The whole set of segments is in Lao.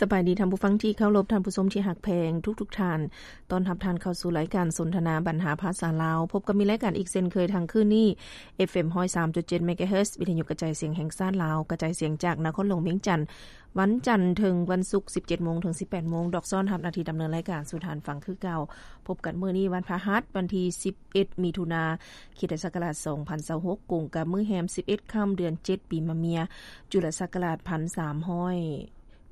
ສະບາຍດີທ່ານຜູ້ຟັງທີ່ເຄົາລົບ, ທ່ານຜູ້ຊົມທີ່ຮັກແພງທຸກໆທ່ານ. ຕ້ອນຮັບທ່ານເຂົ້າສູ່ລາຍການສົນທະນາບັນຫາພາສາລາວ. ພົບກັບມີລາຍການອີກເຊັ່ນເຄີຍທາງຄືນນີ້ ເອັຟເອັມຮ້ອຍສາມຈຸດເຈັດ ເມກາເຮີດ ວິທະຍຸກະຈາຍສຽງແຫ່ງຊາດລາວ, ກະຈາຍສຽງຈາກນະຄອນຫຼວງວຽງຈັນ, ວັນຈັນເຖິງວັນສຸກ ສິບເຈັດໂມງເຖິງສິບແປດໂມງ. ດອກຊ້ອນຮັບໜ້າທີ່ດຳເນີນລາຍການສູ່ທ່ານຟັງຄືເກົ່າ. ພົບກັນມື້ນີ້ວັນພະຫັດ ວັນທີສິບເອັດ ມິຖຸນາ ຄຣິສຕະສັກກະລາດສອງພັນຊາວຫົກ ກົງກັບມື້ແຮມສິບເອັດຄ່ຳ ເດືອນເຈັດ ປີມະເມຍ ຈຸລະສັກກະລາດພັນສາມຮ້ອຍ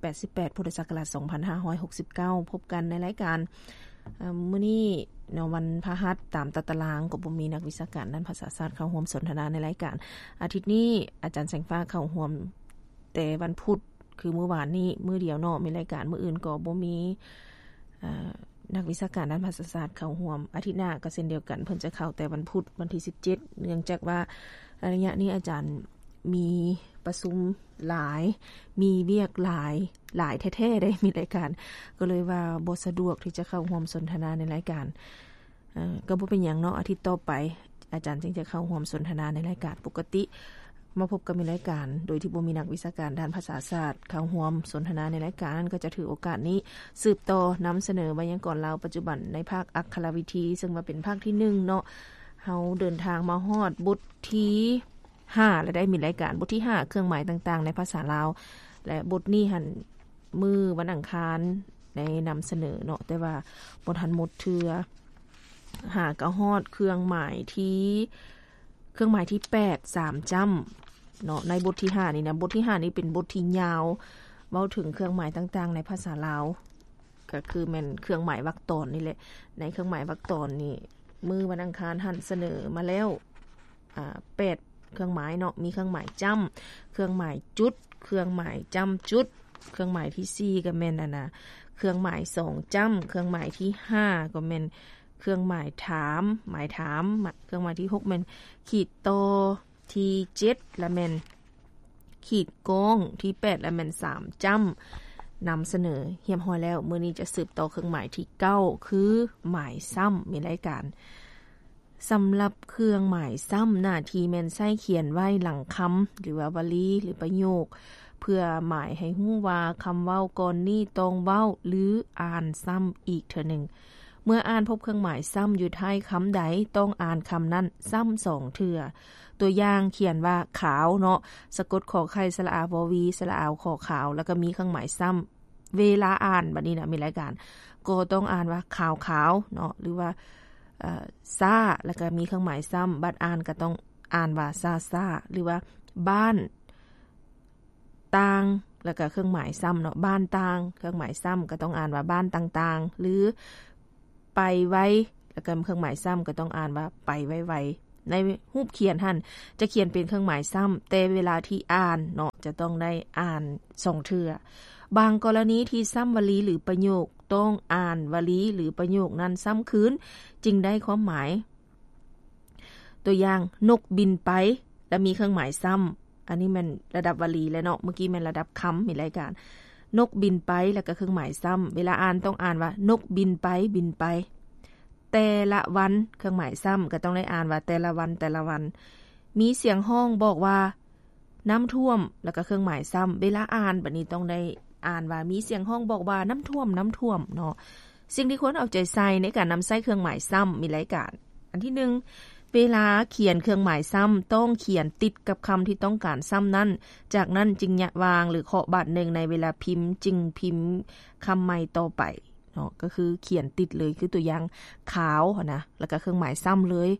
ແປດສິບແປດ ພຸດທະສັກກະລາດສອງພັນຫ້າຮ້ອຍຫົກສິບເກົ້າ. ພົບກັນໃນລາຍການ ເອີ່ມ ມື້ນີ້ເນາະ ວັນພະຫັດ ຕາມຕາຕະລາງກໍບໍ່ມີນັກວິຊາການດ້ານພາສາຊາດເຂົ້າຮ່ວມສົນທະນາໃນລາຍການ. ອາທິດນີ້ອາຈານແສງຟ້າເຂົ້າຮ່ວມແຕ່ວັນພຸດ ຄືມື້ວານນີ້ມື້ດຽວເນາະ ມີລາຍການ, ມື້ອື່ນກໍບໍ່ມີ ເອີ່ ນັກວິຊາການດ້ານພາສາຊາດເຂົ້າຮ່ວມ. ອາທິດໜ້າກໍເຊັ່ນດຽວກັນ ເພິ່ນຈະເຂົ້າແຕ່ວັນພຸດ ວັນທີສິບເຈັດ ເນື່ອງຈາກວ່າໄລຍະນີ້ອາຈານມີປະຊຸມຫຼາຍ ມີວຽກຫຼາຍ ຫຼາຍແທ້ໆ ໄດ້ ມີລາຍການ ກໍເລີຍວ່າບໍ່ສະດວກທີ່ຈະເຂົ້າຮ່ວມສົນທະນາໃນລາຍການ. ເອີ່ ກໍບໍ່ເປັນຫຍັງເນາະ ອາທິດຕໍ່ໄປອາຈານຈຶ່ງຈະເຂົ້າຮ່ວມສົນທະນາໃນລາຍການປົກກະຕິ. ມາພົບກັບມີລາຍການໂດຍທີ່ບໍ່ມີນັກວິຊາການດ້ານພາສາຊາດເຂົ້າຮ່ວມສົນທະນາໃນລາຍການ ກໍຈະຖືໂອກາດນີ້ສືບຕໍ່ນຳສະເໜີໄວຍາກອນລາວປັດຈຸບັນໃນພາກອັກຂະລະວິທີ ເຊິ່ງວ່າເປັນພາກທີໜຶ່ງເນາະ. ເຮົາເດີນທາງມາຮອດບົດທີຫ້າແລ້ວໄດ້ ມີລາຍການບົດທີຫ້າ ເຄື່ອງໝາຍຕ່າງໆໃນພາສາລາວ ແລະ ບົດນີ້ຫັ້ນ ມື້ວັນອັງຄານໄດ້ນຳສະເໜີເນາະ ແຕ່ວ່າບໍ່ທັນໝົດເທື່ອ. ຫາກໍຮອດເຄື່ອງໝາຍທີ ເຄື່ອງໝາຍທີແປດ ສາມຈ້ຳເນາະ ໃນບົດທີຫ້ານີ້ນະ. ບົດທີຫ້ານີ້ເປັນບົດທີ່ຍາວ ເວົ້າເຖິງເຄື່ອງໝາຍຕ່າງໆໃນພາສາລາວ ກໍຄືແມ່ນເຄື່ອງໝາຍວັກຕອນນີ້ແຫຼະ. ໃນເຄື່ອງໝາຍວັກຕອນນີ້ ມື້ວັນອັງຄານຫັ້ນສະເໜີມາແລ້ວ ອາ ແປດເຄື່ອງໝາຍເນາະ ມີເຄື່ອງໝາຍຈ້ຳ, ເຄື່ອງໝາຍຈຸດ, ເຄື່ອງໝາຍຈ້ຳຈຸດ. ເຄື່ອງໝາຍທີສີ່ກໍແມ່ນ ອັນນະ ເຄື່ອງໝາຍສອງຈ້ຳ, ເຄື່ອງໝາຍທີຫ້າກໍແມ່ນເຄື່ອງໝາຍຖາມ ໝາຍຖາມ, ເຄື່ອງໝາຍທີຫົກແມ່ນຂີດຕໍ່, ທີເຈັດລະແມ່ນຂີດກ້ອງ, ທີແປດລະແມ່ນສາມຈ້ຳ. ນຳສະເໜີຮຽບຮ້ອຍແລ້ວ. ມື້ນີ້ຈະສືບຕໍ່ເຄື່ອງໝາຍທີເກົ້າ ຄືໝາຍຊ້ຳ ມີລາຍການ. ສຳລັບເຄື່ອງໝາຍຊ້ຳ ໜ້າທີ່ແມ່ນໃຊ້ຂຽນໄວ້ຫຼັງຄຳ ຫຼືວ່າວະລີ ຫຼືປະໂຫຍກ ເພື່ອໝາຍໃຫ້ຮູ້ວ່າຄຳເວົ້າກ່ອນນີ້ຕ້ອງເວົ້າ ຫຼື ອ່ານຊ້ຳອີກເທື່ອໜຶ່ງ. ເມື່ອອ່ານພົບເຄື່ອງໝາຍຊ້ຳຢູ່ທ້າຍຄຳໃດ ຕ້ອງອ່ານຄຳນັ້ນຊ້ຳສອງເທື່ອ. ຕົວຢ່າງ ຂຽນວ່າຂາວເນາະ ສະກົດ ຂ ໄຂ່ ສະຫຼະອາ ວ ວີ ສະຫຼະອາ ວ ຂ ຂາວ ແລ້ວກໍມີເຄື່ອງໝາຍຊ້ຳ. ເວລາອ່ານບັດນີ້ນະ ມີລາຍການ ກໍຕ້ອງອ່ານວ່າຂາວໆເນາະ ຫຼືວ່າ ເອີ່ ຊ້າ ແລ້ວກໍມີເຄື່ອງໝາຍຊ້ຳ. ບັດອ່ານກໍຕ້ອງອ່ານວ່າຊ້າໆ ຫຼືວ່າບ້ານຕ່າງ ແລ້ວກໍເຄື່ອງໝາຍຊ້ຳເນາະ ບ້ານຕ່າງ ເຄື່ອງໝາຍຊ້ຳກໍຕ້ອງອ່ານວ່າບ້ານຕ່າງໆ ຫຼື ໄປໄວ ແລ້ວກໍເຄື່ອງໝາຍຊ້ຳກໍຕ້ອງອ່ານວ່າໄປໄວໆ. ໃນຮູບຂຽນຫັ້ນຈະຂຽນເປັນເຄື່ອງໝາຍຊ້ຳ ແຕ່ເວລາທີ່ອ່ານເນາະ ຈະຕ້ອງໄດ້ອ່ານສອງເທື່ອ. ບາງກໍລະນີທີ່ຊ້ຳວະລີ ຫຼື ປະໂຫຍກ ຕ້ອງອ່ານວະລີ ຫຼື ປະໂຫຍກນັ້ນຊ້ຳຄືນ ຈຶ່ງໄດ້ຄວາມໝາຍ. ຕົວຢ່າງ ນົກບິນໄປ ແລະ ມີເຄື່ອງໝາຍຊ້ຳ. ອັນນີ້ແມ່ນລະດັບວະລີແລ້ວເນາະ ເມື່ອກີ້ແມ່ນລະດັບຄຳ ມີລາຍການ ນົກບິນໄປ ແລ້ວກໍເຄື່ອງໝາຍຊ້ຳ. ເວລາອ່ານຕ້ອງອ່ານວ່າ ນົກບິນໄປ ບິນໄປ. ແຕ່ລະວັນ ເຄື່ອງໝາຍຊ້ຳ ກໍຕ້ອງໄດ້ອ່ານວ່າແຕ່ລະວັນ ແຕ່ລະວັນ. ມີສຽງຮ້ອງບອກວ່າ ນ້ຳຖ້ວມ ແລ້ວກໍເຄື່ອງໝາຍຊ້ຳ. ເວລາອ່ານບັດນີ້ຕ້ອງໄດ້ອ່ານວ່າ ມີສຽງຮ້ອງບອກວ່າ ນ້ຳຖ້ວມ ນ້ຳຖ້ວມເນາະ. ສິ່ງທີ່ຄວນເອົາໃຈໃສ່ໃນການນຳໃຊ້ເຄື່ອງໝາຍຊ້ຳ ມີລາຍການ ອັນທີໜຶ່ງ ເວລາຂຽນເຄື່ອງໝາຍຊ້ຳ ຕ້ອງຂຽນຕິດກັບຄຳທີ່ຕ້ອງການຊ້ຳນັ້ນ, ຈາກນັ້ນຈຶ່ງຍະວາງ ຫຼື ເຄາະບາດໜຶ່ງໃນເວລາພິມ ຈຶ່ງພິມຄຳໃໝ່ຕໍ່ໄປເນາະ. ກໍຄືຂຽນຕິດເລີຍ ຄືຕົວຢ່າງ ຂາວຫັ້ນນະ ແລ້ວກໍເຄື່ອງໝາຍຊ້ຳເລີຍ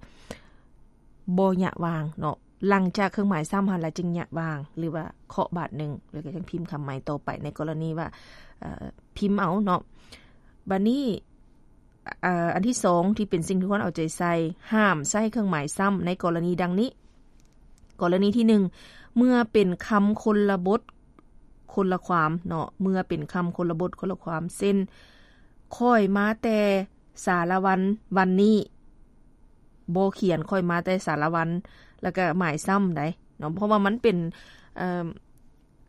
ບໍ່ຍະວາງເນາະ. ຫຼັງຈາກເຄື່ອງໝາຍຊ້ຳຫັ້ນລະຈຶ່ງຍະວາງ ຫຼືວ່າເຄາະບາດໜຶ່ງ ແລ້ວກໍຈັ່ງພິມຄຳໃໝ່ຕໍ່ໄປ ໃນກໍລະນີວ່າ ເອີ່ ພິມເອົາເນາະ. ບາດນີ້ ເອີ່ ອັນທີສອງ ທີ່ເປັນສິ່ງທີ່ຄວນເອົາໃຈໃສ່ ຫ້າມໃຊ້ເຄື່ອງໝາຍຊ້ຳໃນກໍລະນີດັ່ງນີ້. ກໍລະນີທີໜຶ່ງ ເມື່ອເປັນຄຳຄົນລະບົດຄົນລະຄວາມເນາະ ເມື່ອເປັນຄຳຄົນລະບົດຄົນລະຄວາມ ເຊັ່ນ ຂ້ອຍມາແຕ່ ສາລະວັນ ວັນນີ້ ບໍ່ຂຽນຂ້ອຍມາແຕ່ສາລະວັນ ແລ້ວກະໝາຍຊ້ຳໃດເນາະ ເພາະວ່າມັນເປັນ ເອີ່ມ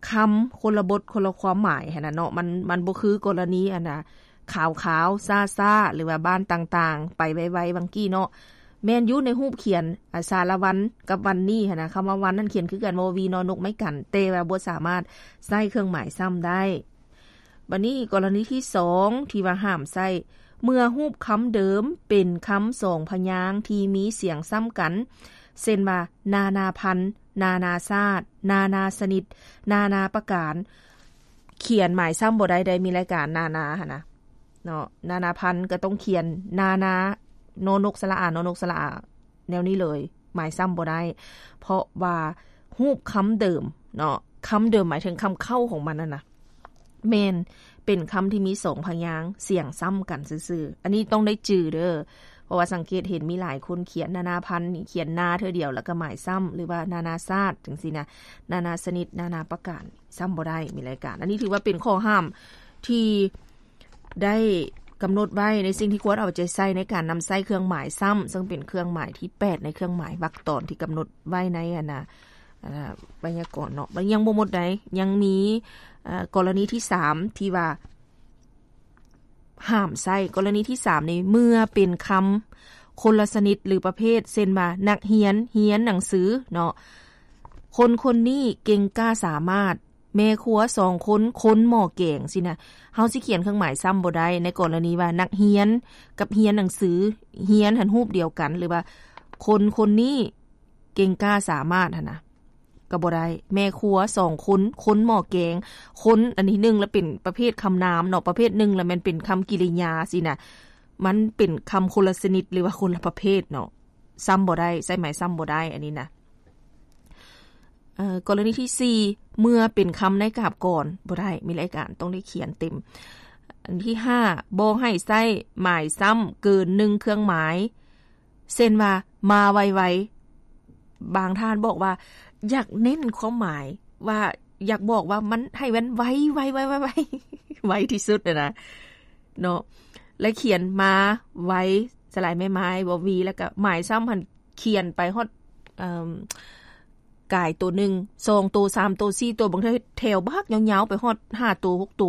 ຄຳຄົນລະບົດຄົນລະຄວາມໝາຍຫັ້ນນະເນາະ. ມັນ ມັນບໍ່ຄືກໍລະນີອັນນະ ຂາວໆ ຊ້າໆ ຫຼືວ່າບ້ານຕ່າງໆ ໄປໄວໆ ຫວ່າງກີ້ເນາະ. ແມ່ນຢູ່ໃນຮູບຂຽນ ອາ ສາລະວັນກັບວັນນີ້ຫັ້ນນະ ຄຳວ່າວັນນັ້ນຂຽນຄືກັນ ວ ວີ ນ ນົກ ໄມ້ກັນ ແຕ່ວ່າບໍ່ສາມາດໃຊ້ເຄື່ອງໝາຍຊ້ຳໄດ້. ບັດນີ້ກໍລະນີທີສອງທີ່ວ່າຫ້າມໃຊ້ ເມື່ອຮູບຄຳເດີມເປັນຄຳສອງພະຍາງທີ່ມີສຽງຊ້ຳກັນ ເຊັ່ນວ່າ ນານາພັນ, ນານາຊາດ, ນານາຊະນິດ, ນານາປະການ ຂຽນໝາຍຊ້ຳບໍ່ໄດ້ ໄດ້ມີລາຍການນານາຫັ້ນນະເນາະ ນານາພັນກໍຕ້ອງຂຽນນານາ ນອນົກສະຫຼະອາ ນອນົກສະຫຼະອາ ແນວນີ້ເລີຍ ໝາຍຊ້ຳບໍ່ໄດ້ ເພາະວ່າຮູບຄຳເດີມເນາະ ຄຳເດີມໝາຍເຖິງຄຳເຄົ້າຂອງມັນຫັ້ນນະ ແມ່ນເປັນຄຳທີ່ມີສອງພະຍາງ ສຽງຊ້ຳກັນຊື່ໆ ອັນນີ້ຕ້ອງໄດ້ຈື່ເດີ ເພາະວ່າສັງເກດເຫັນມີຫຼາຍຄົນຂຽນນານາພັນນີ້ ຂຽນນາເທື່ອດຽວ ແລ້ວກໍໝາຍຊ້ຳ ຫຼືວ່ານານາຊາດ ຈັ່ງຊີ້ນະ ນານາຊະນິດ ນານາປະການ ຊ້ຳບໍ່ໄດ້ ມີລາຍການ ອັນນີ້ຖືວ່າເປັນຂໍ້ຫ້າມທີ່ ໄດ້ກຳນົດໄວ້ໃນສິ່ງທີ່ຄວນເອົາໃຈໃສ່ໃນການນຳໃຊ້ເຄື່ອງໝາຍຊ້ຳ ເຊິ່ງເປັນເຄື່ອງໝາຍທີແປດໃນເຄື່ອງໝາຍວັກຕອນທີ່ກຳນົດໄວ້ໃນອັນນະ ອາ ໄວຍາກອນເນາະ ຍັງບໍ່ໝົດໃດ ຍັງມີ ເອີ ກໍລະນີທີສາມທີ່ວ່າຫ້າມໃຊ້ ກໍລະນີທີສາມນີ້ ເມື່ອເປັນຄຳຄົນລະຊະນິດ ຫຼື ປະເພດ ເຊັ່ນວ່າ ນັກຮຽນ ຮຽນໜັງສືເນາະ ຄົນຄົນນີ້ເກັ່ງກ້າສາມາດ ແມ່ຄົວສອງຄົນ ຄົນໝໍ້ແກງ ຊີ້ນະ ເຮົາຊິຂຽນເຄື່ອງໝາຍຊ້ຳບໍ່ໄດ້ ໃນກໍລະນີວ່ານັກຮຽນກັບຮຽນໜັງສື ຮຽນຫັ້ນຮູບດຽວກັນ ຫຼືວ່າຄົນຄົນນີ້ເກັ່ງກ້າສາມາດຫັ້ນນະ ກໍບໍ່ໄດ້ ແມ່ຄົວສອງຄົນ ຄົນໝໍ້ແກງ ຄົນອັນທີໜຶ່ງລະເປັນປະເພດຄຳນາມເນາະ ປະເພດໜຶ່ງລະແມ່ນເປັນຄຳກິລິຍາຊີ້ນະ ມັນເປັນຄຳຄົນລະຊະນິດ ຫຼືວ່າຄົນລະປະເພດເນາະ ຊ້ຳບໍ່ໄດ້ ໃຊ້ໝາຍຊ້ຳບໍ່ໄດ້ ອັນນີ້ນະ ເອີ ກໍລະນີທີສີ່ ເມື່ອເປັນຄຳໃນກາບກອນ ບໍ່ໄດ້ ມີລາຍການ ຕ້ອງໄດ້ຂຽນເຕັມ ອັນທີຫ້າ ບໍ່ໃຫ້ໃຊ້ໝາຍຊ້ຳເກີນໜຶ່ງເຄື່ອງໝາຍ ເຊັ່ນວ່າ ມາໄວໆ ບາງທ່ານບອກວ່າ ຢາກເນັ້ນຄວາມໝາຍວ່າ ຢາກບອກວ່າມັນ ໃຫ້ມັນໄວໆໆໆ ໄວທີ່ສຸດຫັ້ນນະ ເນາະ ແລະ ຂຽນມາໄວ ສະຫຼາຍແມ່ໄມ້ ວໍວີ ແລ້ວກະໝາຍຊ້ຳຫັ້ນ ຂຽນໄປຮອດ ເອີ່ມ ກາຍໂຕໜຶ່ງ ສອງໂຕ ສາມໂຕ ສີ່ໂຕ ບາງເທື່ອແຖວບັກຍາວໆ ໄປຮອດຫ້າໂຕ ຫົກໂຕ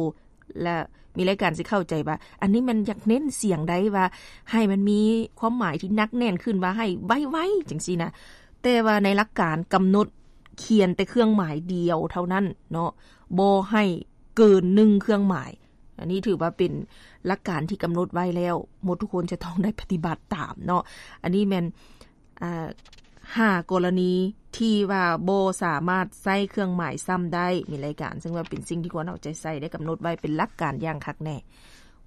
ແລະ ມີລາຍການຊິເຂົ້າໃຈວ່າ ອັນນີ້ແມ່ນຢາກເນັ້ນສຽງໃດວ່າ ໃຫ້ມັນມີຄວາມໝາຍທີ່ໜັກແໜ້ນຂຶ້ນວ່າ ໃຫ້ໄວໆ ຈັ່ງຊີ້ນະ ແຕ່ວ່າໃນຫຼັກການກຳນົດຂຽນແຕ່ເຄື່ອງໝາຍດຽວເທົ່ານັ້ນເນາະ ບໍ່ໃຫ້ເກີນໜຶ່ງເຄື່ອງໝາຍ. ອັນນີ້ຖືວ່າເປັນຫຼັກການທີ່ກຳນົດໄວ້ແລ້ວ ໝົດທຸກຄົນຈະຕ້ອງໄດ້ປະຕິບັດຕາມເນາະ. ອັນນີ້ແມ່ນ ອາ ຫ້າກໍລະນີທີ່ວ່າບໍ່ສາມາດໃຊ້ເຄື່ອງໝາຍຊ້ຳໄດ້ ມີລາຍການ ເຊິ່ງວ່າເປັນສິ່ງທີ່ຄວນເອົາໃຈໃສ່ ໄດ້ກຳນົດໄວ້ເປັນຫຼັກການຢ່າງຄັກແນ່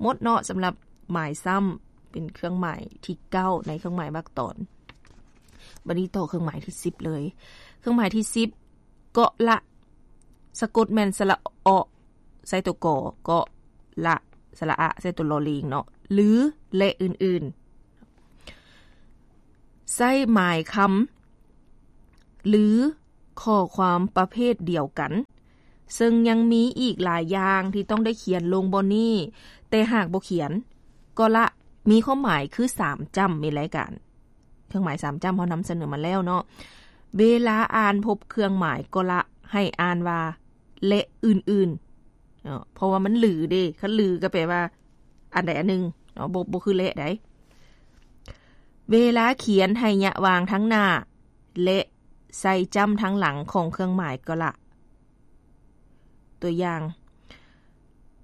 ໝົດເນາະ. ສຳລັບໝາຍຊ້ຳ ເປັນເຄື່ອງໝາຍທີເກົ້າໃນເຄື່ອງໝາຍວັກຕອນ. ບັດນີ້ຕໍ່ເຄື່ອງໝາຍທີສິບເລີຍ. ເຄື່ອງໝາຍທີສິບ ເກາະລະ ສະກົດແມ່ນ ສະຫຼະ ເອາະ ໃສ່ຕົວ ກ ເກາະ ລະ ສະຫຼະ ອະ ໃສ່ຕົວ ລໍລີງ ເນາະ ຫຼື ແລະ ອື່ນໆ ໃຊ້ໝາຍຄຳ ຫຼື ຂໍ້ຄວາມປະເພດດຽວກັນ, ເຊິ່ງຍັງມີອີກຫຼາຍຢ່າງທີ່ຕ້ອງໄດ້ຂຽນລົງບ່ອນນີ້, ແຕ່ຫາກບໍ່ຂຽນ, ເກາະລະ ມີຄວາມໝາຍຄືສາມຈ້ຳ ມີລາຍການ. ເຄື່ອງໝາຍສາມຈ້ຳເຮົານຳສະເໜີມາແລ້ວເນາະ. ເວລາອ່ານພົບເຄື່ອງໝາຍເກາະລະ ໃຫ້ອ່ານວ່າ ແລະ ອື່ນໆ ເນາະ ເພາະວ່າມັນຫຼືເດ້, ຄັນຫຼືກໍແປວ່າອັນໃດອັນໜຶ່ງເນາະ, ບໍ່ ບໍ່ຄືແລະໃດ. ເວລາຂຽນໃຫ້ຍະວາງທັງໜ້າ ແລະ ໃສ່ຈ້ຳທັງຫຼັງຂອງເຄື່ອງໝາຍເກາະລະ. ຕົວຢ່າງ,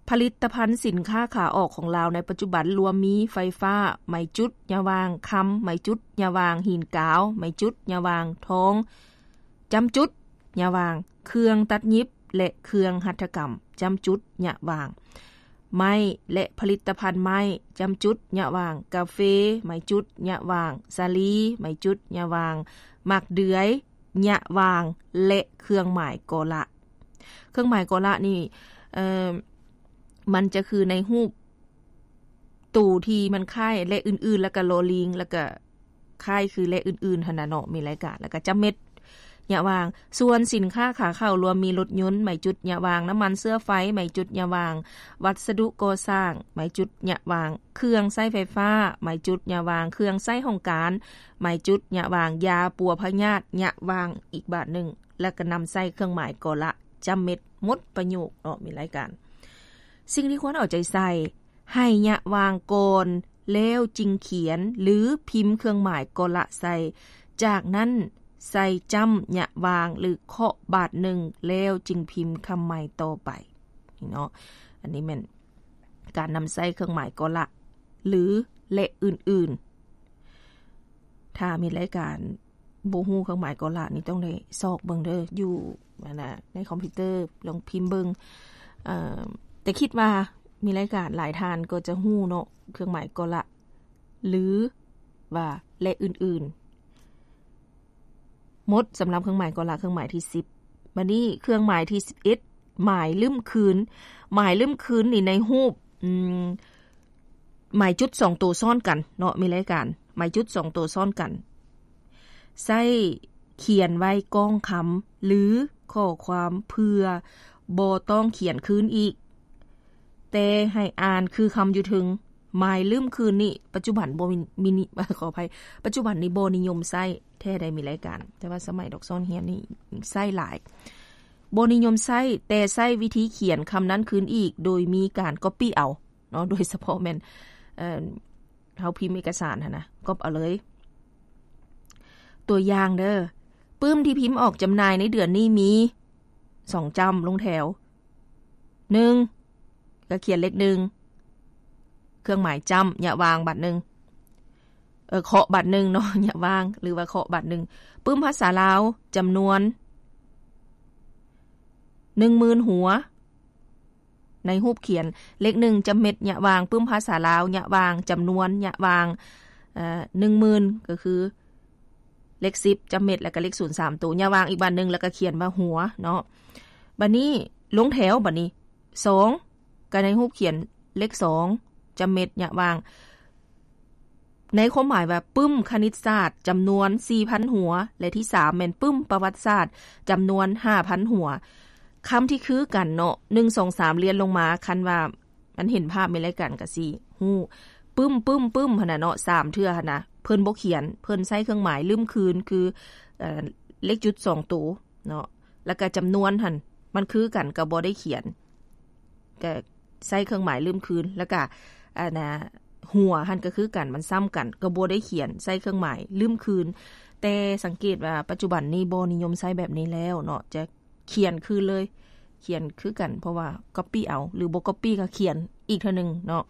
ຜະລິດຕະພັນສິນຄ້າຂາອອກຂອງລາວໃນປັດຈຸບັນລວມມີ ໄຟຟ້າ, ໄມຈຸດ, ຍະຫວ່າງ, ຄຳ, ໄມຈຸດ, ຍະຫວ່າງ, ຫີນກາວ, ໄມຈຸດ, ຍະຫວ່າງ, ທອງ, ຈ້ຳຈຸດ, ຍະຫວ່າງ, ເຄື່ອງຕັດຫຍິບ ແລະ ເຄື່ອງຫັດຖະກຳ, ຈ້ຳຈຸດ, ຍະຫວ່າງ, ໄມ້ ແລະ ຜະລິດຕະພັນໄມ້, ຈ້ຳຈຸດ, ຍະຫວ່າງ, ກາເຟ, ໄມຈຸດ, ຍະຫວ່າງ, ສາລີ, ໄມຈຸດ, ຍະຫວ່າງ, ໝາກເດືອຍ, ຍະຫວ່າງ ແລະ ເຄື່ອງໝາຍກໍລະ. ເຄື່ອງໝາຍກໍລະນີ້ ເອີ່ມ ມັນຈະຄືໃນຮູບໂຕທີ່ມັນຄ້າຍ ແລະ ອື່ນໆ ແລ້ວກະ ລໍລີງ ແລ້ວກະຄ້າຍຄື ແລະ ອື່ນໆ ຫັ້ນນະເນາະ ມີລາຍການ ແລ້ວກະຈ້ຳເມັດ ຍະຫວ່າງ. ສ່ວນສິນຄ້າຂາເຂົ້າລວມມີລົດຍົນ ໄມຈຸດ ຍະຫວ່າງ, ນ້ຳມັນເຊື້ອໄຟ ໄມຈຸດ ຍະຫວ່າງ, ວັດສະດຸກໍ່ສ້າງ ໄມຈຸດ ຍະຫວ່າງ, ເຄື່ອງໃຊ້ໄຟຟ້າ ໄມຈຸດ ຍະຫວ່າງ, ເຄື່ອງໃຊ້ຫ້ອງການ ໄມຈຸດ ຍະຫວ່າງ, ຢາປົວພະຍາດ ຍະຫວ່າງ ອີກບາດໜຶ່ງ ແລ້ວກະນຳໃສ່ເຄື່ອງໝາຍກໍລະ ຈ້ຳເມັດ ໝົດປະໂຫຍກເນາະ ມີລາຍການ. ສິ່ງທີ່ຄວນເອົາໃຈໃສ່ ໃຫ້ຍະຫວ່າງກ່ອນ ແລ້ວຈຶ່ງຂຽນ ຫຼື ພິມເຄື່ອງໝາຍກໍລະໃສ່, ຈາກນັ້ນໃສ່ຈ້ຳຍະຫວ່າງ ຫຼື ເຄາະບາດໜຶ່ງ ແລ້ວຈຶ່ງພິມຄຳໃໝ່ຕໍ່ໄປ. ນີ້ເນາະ. ອັນນີ້ແມ່ນການນຳໃຊ້ເຄື່ອງໝາຍກໍລະ ຫຼື ແລະ ອື່ນໆ. ຖ້າມີລາຍການບໍ່ຮູ້ເຄື່ອງໝາຍກໍລະນີ້ ຕ້ອງໄດ້ຊອກເບິ່ງເດີ ຢູ່ ອັນນ່າ ໃນຄອມພິວເຕີ ລອງພິມເບິ່ງ. ເອີ ແຕ່ຄິດວ່າມີລາຍການຫຼາຍທ່ານກໍຈະຮູ້ເນາະ ເຄື່ອງໝາຍກໍລະ ຫຼື ວ່າ ແລະ ອື່ນໆ. ໝົດສຳລັບເຄື່ອງໝາຍກໍລະ ເຄື່ອງໝາຍທີສິບ. ບັດນີ້ເຄື່ອງໝາຍທີສິບເອັດ ໝາຍລຶ້ມຄືນ. ໝາຍລຶ້ມຄືນນີ້ໃນຮູບ ອືມ ໝາຍຈຸດສອງໂຕຊ້ອນກັນເນາະ ມີລາຍການ ໝາຍຈຸດສອງໂຕຊ້ອນກັນ ໃຊ້ຂຽນໄວ້ກ້ອງຄຳ ຫຼື ຂໍ້ຄວາມ ເພື່ອບໍ່ຕ້ອງຂຽນຄືນອີກ ແຕ່ໃຫ້ອ່ານຄືຄຳຢູ່ເທິງ. ໝາຍລຶ້ມຄືນນີ້ ປັດຈຸບັນບໍ່ມີ ມີ ຂໍອະໄພ ປັດຈຸບັນນີ້ບໍ່ນິຍົມໃຊ້ແທ້ໃດ ມີລາຍການ, ແຕ່ວ່າສະໄໝດອກສອນຮຽນນີ້ໃຊ້ຫຼາຍ. ບໍ່ນິຍົມໃຊ້ ແຕ່ໃຊ້ວິທີຂຽນຄຳນັ້ນຄືນອີກ ໂດຍມີການກັອບປີ້ເອົາເນາະ, ໂດຍສະເພາະແມ່ນ ເອີ ເຮົາພິມເອກະສານຫັ້ນນະ ກັອບເອົາເລີຍ. ຕົວຢ່າງເດີ ປຶ້ມທີ່ພິມອອກຈຳໜ່າຍໃນເດືອນນີ້ມີ ສອງຈ້ຳລົງແຖວ ໜຶ່ງ ກະຂຽນເລກໜຶ່ງ ເຄື່ອງໝາຍຈ້ຳ ຍະຫວ່າງບາດໜຶ່ງ ເອີ ເຄາະບາດໜຶ່ງເນາະ ຍະຫວ່າງ ຫຼືວ່າເຄາະບາດໜຶ່ງ. ປຶ້ມພາສາລາວ ຈຳນວນ ໜຶ່ງໝື່ນຫົວ ໃນຮູບຂຽນເລກໜຶ່ງ ຈຳເມັດ ຍະຫວ່າງ ປຶ້ມພາສາລາວ ຍະຫວ່າງ ຈຳນວນ ຍະຫວ່າງ ເອີ ໜຶ່ງໝື່ນ ກໍຄື ເລກສິບ ຈຳເມັດ ແລ້ວກໍເລກສູນສາມໂຕ ຍະຫວ່າງອີກບາດໜຶ່ງ ແລ້ວກໍຂຽນວ່າຫົວເນາະ. ບາດນີ້ລົງແຖວ ບາດນີ້ ສອງ ກໍໃນຮູບຂຽນເລກສອງ ຈຳເມັດ ຍະຫວ່າງ ໃນຄວາມໝາຍວ່າປຶ້ມຄະນິດສາດ ຈຳນວນສີ່ພັນຫົວ ແລະ ທີສາມແມ່ນປຶ້ມປະຫວັດສາດ ຈຳນວນຫ້າພັນຫົວ. ຄຳທີ່ຄືກັນເນາະ ໜຶ່ງ ສອງ ສາມ ລຽນລົງມາ ຄັນວ່າ ມັນເຫັນພາບໃນລາຍການກະຊິຮູ້ ປຶ້ມ ປຶ້ມ ປຶ້ມຫັ້ນນະເນາະ ສາມເທື່ອຫັ້ນນະ ເພິ່ນບໍ່ຂຽນ ເພິ່ນໃຊ້ເຄື່ອງໝາຍລຶ້ມຄືນ ຄື ເອີ ເລກຈຸດສອງໂຕເນາະ ແລ້ວກະຈຳນວນຫັ້ນ ມັນຄືກັນ ກະບໍ່ໄດ້ຂຽນ ກະໃຊ້ເຄື່ອງໝາຍລຶ້ມຄືນ ແລ້ວກະ ອັນນ່າ ຫົວຫັ້ນກະຄືກັນ ມັນຊ້ຳກັນ ກະບໍ່ໄດ້ຂຽນ ໃຊ້ເຄື່ອງໝາຍລຶ້ມຄືນ. ແຕ່ສັງເກດວ່າປັດຈຸບັນນີ້ບໍ່ນິຍົມໃຊ້ແບບນີ້ແລ້ວເນາະ ຈະ ຂຽນຄືເລີຍ ຂຽນຄືກັນ ເພາະວ່າກັອບປີ້ເອົາ ຫຼືບໍ່ກັອບປີ້ກໍຂຽນອີກເທື່ອໜຶ່ງເນາະ.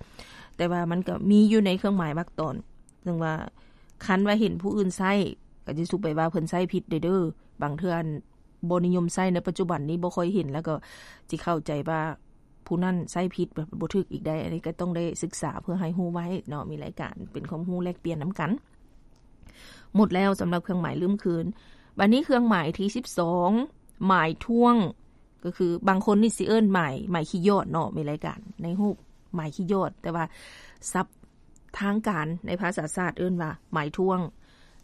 ແຕ່ວ່າມັນກໍມີຢູ່ໃນເຄື່ອງໝາຍວາກຕອນ ເຊິ່ງວ່າຄັນວ່າເຫັນຜູ້ອື່ນໃຊ້ ກໍຈະສຸໄປວ່າເພິ່ນໃຊ້ຜິດເດີ້. ບາງເທື່ອບໍ່ນິຍົມໃຊ້ໃນປັດຈຸບັນນີ້ ບໍ່ຄ່ອຍເຫັນ ແລ້ວກໍຊິເຂົ້າໃຈວ່າຜູ້ນັ້ນໃຊ້ຜິດ ແບບບໍ່ຖືກອີກໄດ້. ອັນນີ້ກໍຕ້ອງໄດ້ສຶກສາເພື່ອໃຫ້ຮູ້ໄວ້ເນາະ ມີລາຍການເປັນຄວາມຮູ້ແລກປ່ຽນນຳກັນ. ໝົດແລ້ວສຳລັບເຄື່ອງໝາຍລຶ້ມຄືນ. ບາດນີ້ເຄື່ອງໝາຍທີສິບສອງ ໝາຍຖ້ວງ ກໍຄືບາງຄົນນີ້ຊິເອີ້ນໝາຍ ໝາຍຂີ້ຢອດເນາະ ມີລາຍການໃນຮູບໝາຍຂີ້ຢອດ ແຕ່ວ່າສັບທາງການໃນພາສາສາດເອີ້ນວ່າໝາຍຖ້ວງ.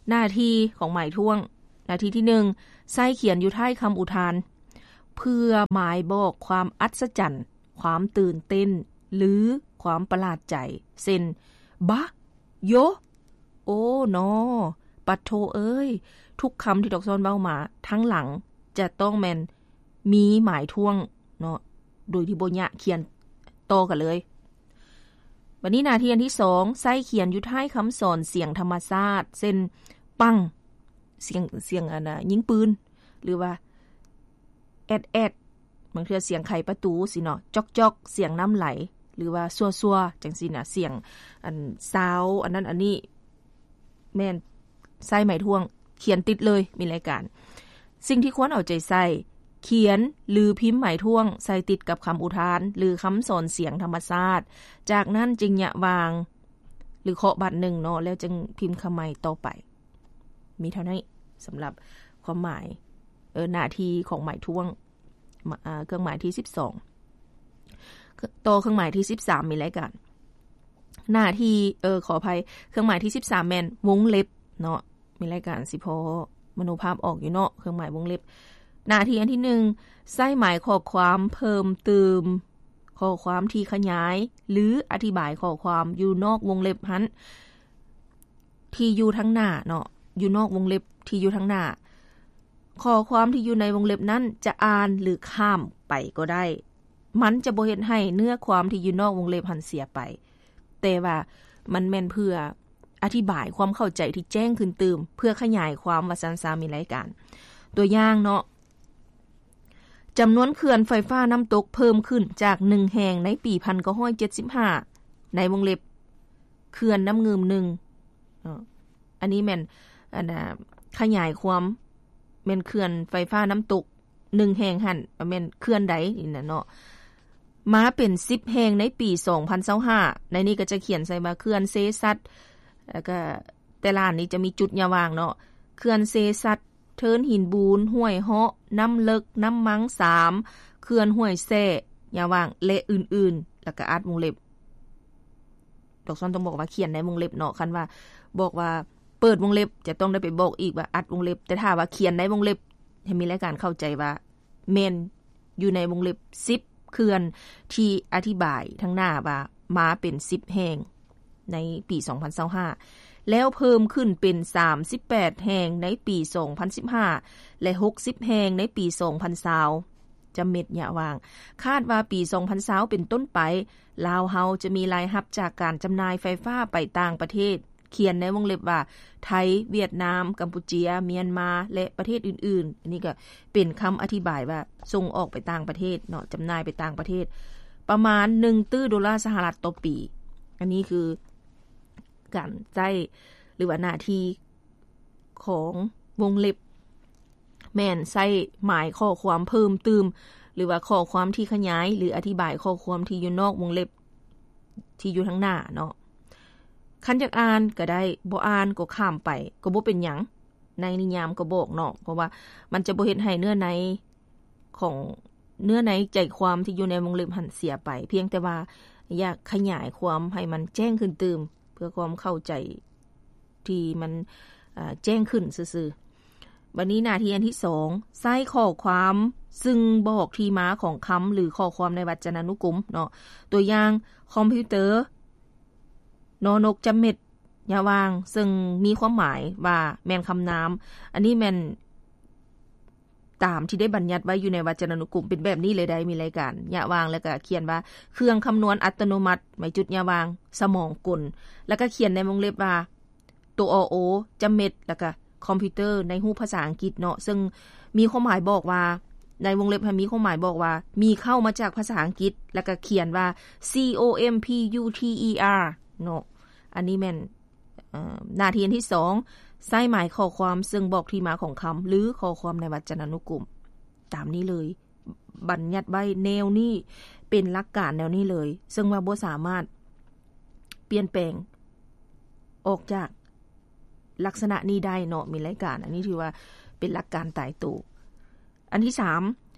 ໜ້າທີ່ຂອງໝາຍຖ້ວງ ໜ້າທີ່ທີໜຶ່ງ ໃຊ້ຂຽນຢູ່ທ້າຍຄຳອຸທານ ເພື່ອໝາຍບອກຄວາມອັດສະຈັນ ຄວາມຕື່ນເຕັ້ນ ຫຼື ຄວາມປະຫຼາດໃຈ ເຊັ່ນ ບະ ໂຍ ໂອ້ ນໍ ປັດໂທເອີຍ. ທຸກຄຳທີ່ດອກຊອນເວົ້າມາ ທັງຫຼັງຈະຕ້ອງແມ່ນມີໝາຍຖ້ວງເນາະ ໂດຍທີ່ບໍ່ຍະ ຂຽນຕໍ່ກັນເລີຍ. ບັດນີ້ໜ້າທີ່ອັນທີສອງ ໃຊ້ຂຽນຢູ່ທ້າຍຄຳສອນສຽງທຳມະຊາດ ເຊັ່ນ ປັງ ສຽງ ສຽງອັນນ່າ ຍິງປືນ ຫຼືວ່າ ແອດແອດ ບາງເທື່ອສຽງໄຂປະຕູຊີ້ເນາະ ຈອກໆ ສຽງນ້ຳໄຫຼ ຫຼືວ່າຊົ່ວໆ ຈັ່ງຊີ້ນະ ສຽງອັນຊາວ ອັນນັ້ນອັນນີ້ ແມ່ນໃຊ້ໝາຍຖ້ວງ ຂຽນຕິດເລີຍ ມີລາຍການ. ສິ່ງທີ່ຄວນເອົາໃຈໃສ່ ຂຽນ ຫຼື ພິມໝາຍຖ້ວງໃສ່ຕິດກັບຄຳອຸທານ ຫຼື ຄຳສອນສຽງທຳມະຊາດ ຈາກນັ້ນຈຶ່ງຍະຫວ່າງ ຫຼື ເຄາະບາດໜຶ່ງເນາະ ແລ້ວຈຶ່ງພິມຄຳໃໝ່ຕໍ່ໄປ. ມີເທົ່ານີ້ສຳລັບຄວາມໝາຍ ເອີ ໜ້າທີ່ຂອງໝາຍຖ້ວງ ມ- ເອີ ເຄື່ອງໝາຍທີສິບສອງ. ຕໍ່ເຄື່ອງໝາຍທີສິບສາມ ມີລາຍການ ໜ້າທີ່ ເອີ ຂໍອະໄພ ເຄື່ອງໝາຍທີສິບສາມ ແມ່ນວົງເລັບເນາະ ມີລາຍການຊິພໍມະໂນພາບອອກຢູ່ເນາະ ເຄື່ອງໝາຍວົງເລັບ. ໜ້າທີ່ອັນທີໜຶ່ງ ໃຊ້ໝາຍຂໍ້ຄວາມເພີ່ມຕື່ມຂໍ້ຄວາມທີ່ຂະຫຍາຍ ຫຼື ອະທິບາຍຂໍ້ຄວາມຢູ່ນອກວົງເລັບຫັ້ນ ທີ່ຢູ່ທາງໜ້າເນາະ ຢູ່ນອກວົງເລັບທີ່ຢູ່ທາງໜ້າ. ຂໍ້ຄວາມທີ່ຢູ່ໃນວົງເລັບນັ້ນຈະອ່ານ ຫຼື ຂ້າມໄປກໍໄດ້. ມັນຈະບໍ່ເຮັດໃຫ້ເນື້ອຄວາມທີ່ຢູ່ນອກວົງເລັບຫັ້ນເສຍໄປ, ແຕ່ວ່າມັນແມ່ນເພື່ອອະທິບາຍຄວາມເຂົ້າໃຈທີ່ແຈ້ງຂຶ້ນຕື່ມ, ເພື່ອຂະຫຍາຍຄວາມວ່າຊັ້ນຊາ, ມີລາຍການ. ຕົວຢ່າງເນາະ, ຈຳນວນເຂື່ອນໄຟຟ້ານ້ຳຕົກເພີ່ມຂຶ້ນຈາກໜຶ່ງແຫ່ງໃນປີພັນເກົ້າຮ້ອຍເຈັດສິບຫ້າ ໃນວົງເລັບ ເຂື່ອນນ້ຳງື່ມໜຶ່ງເນາະ ອັນນີ້ແມ່ນ ອັນນ່າ ຂະຫຍາຍຄວາມ ແມ່ນເຂື່ອນໄຟຟ້ານ້ຳຕົກໜຶ່ງແຫ່ງຫັ້ນ ແມ່ນເຂື່ອນໃດນີ້ນະເນາະ ມາເປັນສິບແຫ່ງໃນປີສອງພັນຊາວຫ້າ ໃນນີ້ກໍຈະຂຽນໃສ່ວ່າເຂື່ອນເຊຊັດ ແລ້ວກໍແຕ່ລະອັນນີ້ຈະມີຈຸດຍາວາງເນາະ ເຂື່ອນເຊຊັດ ເທີນຫີນບູນ ຫ້ວຍເຫາະ ນ້ຳເລິກ ນ້ຳມັງສາມ ເຂື່ອນຫ້ວຍແຊ້ ຍາວາງ ແລະ ອື່ນໆ ແລ້ວກໍອັດວົງເລັບ ດອກຊອນຕ້ອງບອກວ່າຂຽນໃນວົງເລັບເນາະ ຄັນວ່າບອກວ່າເປີດວົງເລັບ ຈະຕ້ອງໄດ້ໄປບອກອີກວ່າອັດວົງເລັບ ແຕ່ຖ້າວ່າຂຽນໃນວົງເລັບ ໃຫ້ມີລາຍການເຂົ້າໃຈວ່າແມ່ນຢູ່ໃນວົງເລັບສິບເຂື່ອນທີ່ອະທິບາຍທາງໜ້າວ່າມາເປັນສິບແຫ່ງໃນປີສອງພັນຊາວຫ້າ ແລ້ວເພີ່ມຂຶ້ນເປັນສາມສິບແປດແຫ່ງໃນປີສອງພັນສິບຫ້າ ແລະ ຫົກສິບແຫ່ງໃນປີສອງພັນຊາວ ຈຳເມັດຍະຫວ່າງ ຄາດວ່າປີສອງພັນຊາວເປັນຕົ້ນໄປ ລາວເຮົາຈະມີລາຍຮັບຈາກການຈຳໜ່າຍໄຟຟ້າໄປຕ່າງປະເທດ ຂຽນໃນວົງເລັບວ່າ ໄທ, ຫວຽດນາມ, ກຳປູເຈຍ, ມຽນມາ ແລະ ປະເທດອື່ນໆ. ອັນນີ້ກໍເປັນຄຳອະທິບາຍວ່າສົ່ງອອກໄປຕ່າງປະເທດເນາະ, ຈຳໜ່າຍໄປຕ່າງປະເທດ ປະມານໜຶ່ງຕື້ໂດລາສະຫະລັດຕໍ່ປີ. ອັນນີ້ຄືການໃຊ້ ຫຼືວ່າໜ້າທີ່ຂອງວົງເລັບ ແມ່ນໃຊ້ໝາຍຂໍ້ຄວາມເພີ່ມຕື່ມ ຫຼືວ່າຂໍ້ຄວາມທີ່ຂະຫຍາຍ ຫຼືອະທິບາຍຂໍ້ຄວາມທີ່ຢູ່ນອກວົງເລັບທີ່ຢູ່ທາງໜ້າເນາະ. ຄັນຢາກອ່ານກໍໄດ້, ບໍ່ອ່ານກໍຂ້າມໄປ ກໍບໍ່ເປັນຫຍັງ. ໃນນິຍາມກໍບອກເນາະ, ເພາະວ່າມັນຈະບໍ່ເຮັດໃຫ້ເນື້ອໃນຂອງ ເນື້ອໃນໃຈຄວາມທີ່ຢູ່ໃນວົງເລັບຫັ້ນເສຍໄປ, ພຽງແຕ່ວ່າຢາກຂະຫຍາຍຄວາມໃຫ້ມັນແຈ້ງຂຶ້ນຕື່ມ ເພື່ອຄວາມເຂົ້າໃຈ ທີ່ມັນ ເອີ ແຈ້ງຂຶ້ນຊື່ໆ. ບັດນີ້ໜ້າທີ່ອັນທີສອງ ໃຊ້ຂໍ້ຄວາມຊຶ່ງບອກທີ່ມາຂອງຄຳ ຫຼື ຂໍ້ຄວາມໃນວັດຈະນານຸກົມເນາະ. ຕົວຢ່າງ ຄອມພິວເຕີ ນອນົກ ຈຳເມັດ ຍະຫວ່າງ ເຊິ່ງມີຄວາມໝາຍວ່າແມ່ນຄຳນາມ. ອັນນີ້ແມ່ນ ຕາມທີ່ໄດ້ບັນຍັດໄວ້ຢູ່ໃນວັດຈະນານຸກົມ ເປັນແບບນີ້ເລີຍໄດ໋ ມີລາຍການ ຍະຫວ່າງ ແລ້ວກະຂຽນວ່າ ເຄື່ອງຄຳນວນອັດຕະໂນມັດ ໄມ້ຈຸດ ຍະຫວ່າງ ສະໝອງກົນ ແລ້ວກະຂຽນໃນວົງເລັບວ່າ ຕົວ ອ ໂອ ຈຳເມັດ ແລ້ວກະຄອມພິວເຕີ ໃນຮູບພາສາອັງກິດເນາະ ເຊິ່ງມີຄວາມໝາຍບອກວ່າ ໃນວົງເລັບຫັ້ນມີຄວາມໝາຍບອກວ່າ ມີເຄົ້າມາຈາກພາສາອັງກິດ ແລ້ວກະຂຽນວ່າ C O M P U T E R ເນາະ. ອັນນີ້ແມ່ນ ເອີ ໜ້າທີ່ອັນທີສອງ ໃຊ້ໝາຍຂໍ້ຄວາມເຊິ່ງບອກທີ່ມາຂອງຄຳ ຫຼື ຂໍ້ຄວາມໃນວັດຈະນານຸກົມ ຕາມນີ້ເລີຍ ບັນຍັດໄວ້ແນວນີ້ ເປັນຫຼັກການແນວນີ້ເລີຍ ເຊິ່ງວ່າບໍ່ສາມາດປ່ຽນແປງອອກຈາກລັກສະນະນີ້ໄດ້ເນາະ ມີລາຍການ. ອັນນີ້ຖືວ່າເປັນຫຼັກການຕາຍໂຕ. ອັນທີສາມ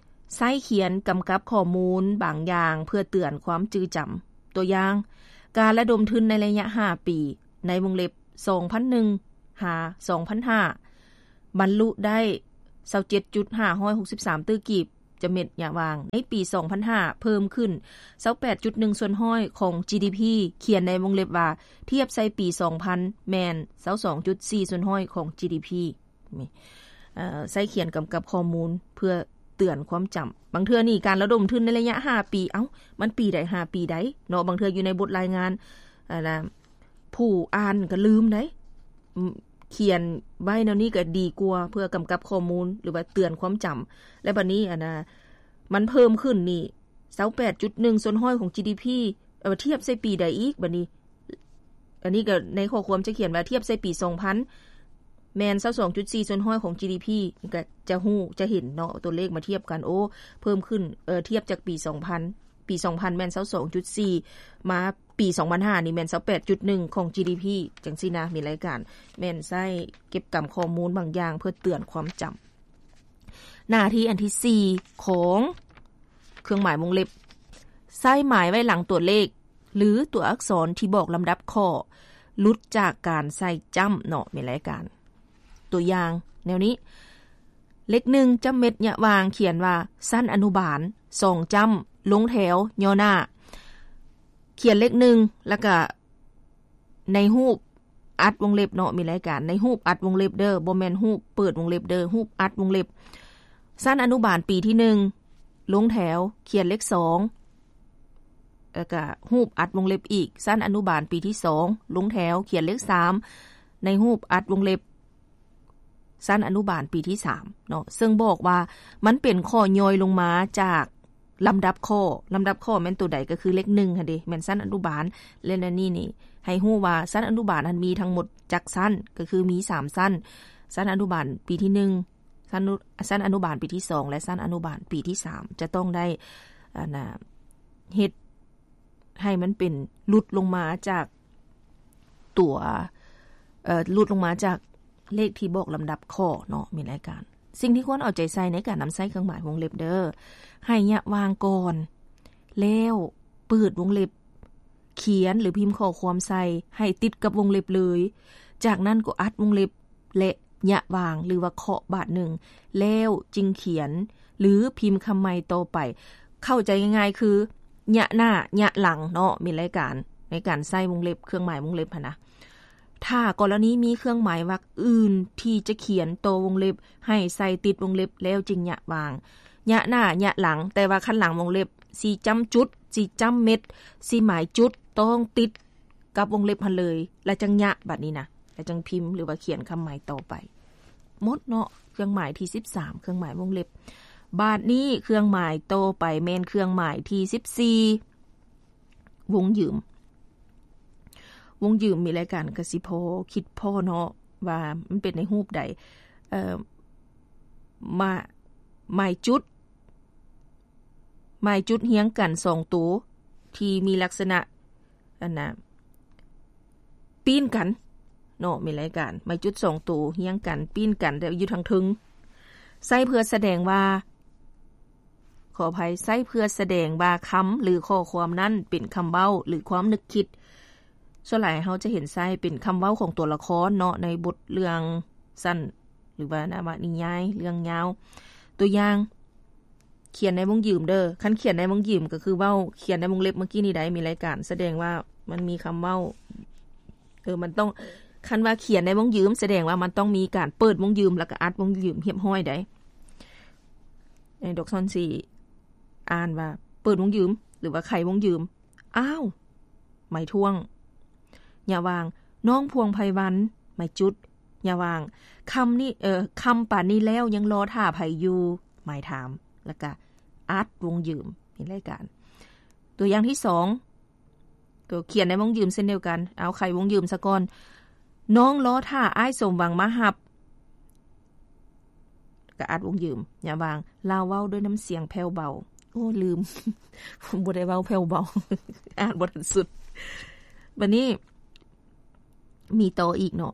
ໃຊ້ຂຽນກຳກັບຂໍ້ມູນບາງຢ່າງເພື່ອເຕືອນຄວາມຈື່ຈຳ. ຕົວຢ່າງ ການລະດົມທຶນໃນໄລຍະຫ້າປີ ໃນວົງເລັບ ສອງພັນໜຶ່ງ ຫາ ສອງພັນຫ້າ ບັນລຸໄດ້ ຊາວເຈັດຈຸດຫ້າຮ້ອຍຫົກສິບສາມ ຕື້ກີບ ຈະເມັດ ຍະຫວ່າງ ໃນປີ ສອງພັນຫ້າ ເພີ່ມຂຶ້ນ ຊາວແປດຈຸດໜຶ່ງສ່ວນຮ້ອຍຂອງ ຈີດີພີ ຂຽນໃນວົງເລັບວ່າ ທຽບໃສ່ປີ ສອງພັນ ແມ່ນ ຊາວສອງຈຸດສີ່ສ່ວນຮ້ອຍຂອງ ຈີດີພີ. ນີ້ ເອີ ໃຊ້ຂຽນກຳກັບຂໍ້ມູນເພື່ອເຕືອນຄວາມຈຳ. ບາງເທື່ອນີ້ການລະດົມທຶນໃນໄລຍະຫ້າປີ ເອົ້າ ມັນປີໃດ ຫ້າປີໃດເນາະ, ບາງເທື່ອຢູ່ໃນບົດລາຍງານ ອັນນ່າ ຜູ້ອ່ານກໍລືມໄດ໋. ຂຽນໄວ້ແນວນີ້ກໍດີກວ່າ ເພື່ອກຳກັບຂໍ້ມູນ ຫຼືວ່າເຕືອນຄວາມຈຳ. ແລະ ບັດນີ້ ອັນນ່າ ມັນເພີ່ມຂຶ້ນນີ້ ຊາວແປດຈຸດໜຶ່ງສ່ວນຮ້ອຍຂອງ ຈີດີພີ ເອົາ ທຽບໃສ່ປີໃດອີກ ບັດນີ້ ອັນນີ້ກໍໃນຂໍ້ຄວາມຈະຂຽນວ່າທຽບໃສ່ປີສອງພັນ ແມ່ນ ຊາວສອງຈຸດສີ່ສ່ວນຮ້ອຍຂອງ ຈີດີພີ ກໍຈະຮູ້ ຈະເຫັນເນາະ ຕົວເລກມາທຽບກັນ ໂອ້ ເພີ່ມຂຶ້ນ ເອີ ທຽບຈາກປີສອງພັນ ປີສອງພັນແມ່ນ ຊາວສອງຈຸດສີ່ ມາປີສອງພັນຫ້ານີ້ແມ່ນ ຊາວແປດຈຸດໜຶ່ງຂອງ ຈີດີພີ ຈັ່ງຊີ້ນະ ມີລາຍການ ແມ່ນໃຊ້ເກັບກຳຂໍ້ມູນບາງຢ່າງເພື່ອເຕືອນຄວາມຈຳ. ໜ້າທີ່ອັນທີສີ່ຂອງເຄື່ອງໝາຍວົງເລັບ ໃຊ້ໝາຍໄວ້ຫຼັງຕົວເລກ ຫຼື ຕົວອັກສອນທີ່ບອກລຳດັບຂໍ້ ຫຼຸດຈາກການໃສ່ຈ້ຳເນາະ ມີລາຍການ. ຕົວຢ່າງແນວນີ້ ເລກໜຶ່ງ ຈ້ຳເມັດ ຍະຫວ່າງ ຂຽນວ່າ ຊັ້ນອະນຸບານ ສອງຈ້ຳ ລົງແຖວ ຍໍໜ້າ ຂຽນເລກໜຶ່ງ ແລ້ວກະໃນຮູບ ອັດວົງເລັບເນາະ ມີລາຍການ ໃນຮູບອັດວົງເລັບເດີ ບໍ່ແມ່ນຮູບເປີດວົງເລັບເດີ ຮູບອັດວົງເລັບ ຊັ້ນອະນຸບານປີທີໜຶ່ງ ລົງແຖວ ຂຽນເລກສອງ ແລ້ວກະຮູບອັດວົງເລັບອີກ ຊັ້ນອະນຸບານປີທີສອງ ລົງແຖວ ຂຽນເລກສາມ ໃນຮູບອັດວົງເລັບ ຊັ້ນອະນຸບານປີທີສາມເນາະ ເຊິ່ງບອກວ່າມັນເປັນຂໍ້ຍ່ອຍລົງມາຈາກລຳດັບຂໍ້. ລຳດັບຂໍ້ແມ່ນໂຕໃດ? ກໍຄືເລກໜຶ່ງຫັ້ນເດ ແມ່ນຊັ້ນອະນຸບານ ແລະ ໃນນີ້ນີ້ໃຫ້ຮູ້ວ່າຊັ້ນອະນຸບານຫັ້ນມີທັງໝົດຈັກຊັ້ນ? ກໍຄືມີສາມຊັ້ນ, ຊັ້ນອະນຸບານປີທີໜຶ່ງ, ຊັ້ນອະນຸ ຊັ້ນອະນຸບານປີທີສອງ ແລະ ຊັ້ນອະນຸບານປີທີສາມ ຈະຕ້ອງໄດ້ ອັນນ່າ ເຮັດໃຫ້ມັນເປັນ ຫຼຸດລົງມາຈາກຕົວ ເອີ ຫຼຸດລົງມາຈາກເລກທີ່ບອກລຳດັບຂໍ້ເນາະ ແມ່ນລາຍການ. ສິ່ງທີ່ຄວນເອົາໃຈໃສ່ໃນການນຳໃຊ້ເຄື່ອງໝາຍວົງເລັບເດີ້ ໃຫ້ຍະຫວ່າງກ່ອນ ແລ້ວເປີດວົງເລັບ ຂຽນ ຫຼື ພິມຂໍ້ຄວາມໃສ່ໃຫ້ຕິດກັບວົງເລັບເລີຍ. ຈາກນັ້ນກໍອັດວົງເລັບ ແລະ ຍະຫວ່າງ ຫຼືວ່າເຄາະບາດໜຶ່ງ ແລ້ວຈຶ່ງຂຽນ ຫຼື ພິມຄຳໃໝ່ຕໍ່ໄປ. ເຂົ້າໃຈງ່າຍໆຄື ຍະໜ້າ ຍະຫຼັງເນາະ ແມ່ນລາຍການ ໃນການໃສ່ວົງເລັບ ເຄື່ອງໝາຍວົງເລັບຫັ້ນນະ. ຖ້າກໍລະນີມີເຄື່ອງໝາຍວັກອື່ນທີ່ຈະຂຽນຕໍ່ວົງເລັບ ໃຫ້ໃສ່ຕິດວົງເລັບ ແລ້ວຈຶ່ງຍະຫວ່າງ. ຍະໜ້າ ຍະຫຼັງ ແຕ່ວ່າຄັນຫຼັງວົງເລັບ ຊິຈ້ຳຈຸດ ຊິຈ້ຳເມັດ ຊິໝາຍຈຸດ ຕ້ອງຕິດກັບວົງເລັບຫັ້ນເລີຍ ແລ້ວຈັ່ງຍະ ບາດນີ້ນະ ແລ້ວຈັ່ງພິມ ຫຼືວ່າຂຽນຄຳໝາຍຕໍ່ໄປ. ໝົດເນາະ ເຄື່ອງໝາຍທີສິບສາມ ເຄື່ອງໝາຍວົງເລັບ. ບາດນີ້ເຄື່ອງໝາຍຕໍ່ໄປແມ່ນເຄື່ອງໝາຍທີສິບສີ່ ວົງຢືມ. ວົງຢືມ ມີລາຍການກະຊິພໍຄິດພໍເນາະ ວ່າມັນເປັນໃນຮູບໃດ? ເອີ ມາ ໝາຍຈຸດ ໝາຍຈຸດຮຽງກັນສອງໂຕ ທີ່ມີລັກສະນະ ອັນນ່າ ປີ້ນກັນເນາະ ມີລາຍການ ໝາຍຈຸດສອງໂຕຮຽງກັນ ປີ້ນກັນ ແຕ່ຢູ່ທາງເທິງ ໃຊ້ເພື່ອສະແດງວ່າ ຂໍອະໄພ ໃຊ້ເພື່ອສະແດງວ່າຄຳ ຫຼື ຂໍ້ຄວາມນັ້ນເປັນຄຳເວົ້າ ຫຼື ຄວາມນຶກຄິດ. ສ່ວນຫຼາຍເຮົາຈະເຫັນໃຊ້ເປັນຄຳເວົ້າຂອງຕົວລະຄອນເນາະ ໃນບົດເລື່ອງສັ້ນ ຫຼືວ່ານະວະນິຍາຍເລື່ອງຍາວ. ຕົວຢ່າງ ຂຽນໃນວົງຢືມເດີ້. ຄັນຂຽນໃນວົງຢືມກໍຄືເວົ້າ ຂຽນໃນວົງເລັບເມື່ອກີ້ນີ້ໃດ໋ ມີລາຍການ ສະແດງວ່າມັນມີຄຳເວົ້າ ເອີ ມັນຕ້ອງ ຄັນວ່າຂຽນໃນວົງຢືມ ສະແດງວ່າມັນຕ້ອງມີການເປີດວົງຢືມ ແລ້ວກໍອັດວົງຢືມຮຽບຮ້ອຍໃດ໋. ໃນດອກຊອນຊິອ່ານວ່າເປີດວົງຢືມ ຫຼືວ່າໄຂວົງຢືມ. ອ້າວ ໝາຍຖ້ວງ ຍະຫວ່າງ ນ້ອງພວງໄພວັນ ໝາຍຈຸດ ຍະຫວ່າງ ຄຳນີ້ ເອີ ຄຳປານນີ້ແລ້ວຍັງລໍຖ້າໃຜຢູ່ ໝາຍຖາມ ແລ້ວກະອັດວົງຢືມ ເປັນລາຍການ. ຕົວຢ່າງທີສອງ ກໍຂຽນໃນວົງຢືມເຊັ່ນດຽວກັນ ເອົາໄຂວົງຢືມສາກ່ອນ ນ້ອງລໍຖ້າອ້າຍສົມຫວັງມາຮັບ ກະອັດວົງຢືມ ຍະຫວ່າງ ລາວເວົ້າດ້ວຍນ້ຳສຽງແຜ່ວເບົາ. ໂອ້ ລືມ ບໍ່ໄດ້ເວົ້າແຜ່ວເບົາ ອ່ານບໍ່ທັນສຸດ. ບາດນີ້ມີຕໍ່ອີກເນາະ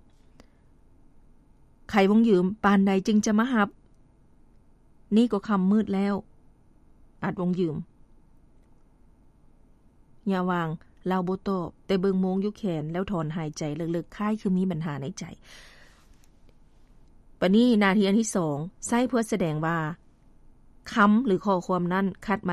ໄຂວົງຢືມ ປານໃດຈຶ່ງຈະມາຮັບ? ນີ້ກໍຄ່ຳມືດແລ້ວ ອັດວົງຢືມ ຍະຫວ່າງ ລາວບໍ່ຕອບ ແຕ່ເບິ່ງໂມງຢູ່ແຂນ ແລ້ວຖອນຫາຍໃຈເລິກໆ ຄ້າຍຄືມີບັນຫາໃນໃຈ. ບາດນີ້ໜ້າທີ່ອັນທີສອງ ໃຊ້ເພື່ອສະແດງວ່າຄຳ ຫຼື ຂໍ້ຄວາມນັ້ນຂັດ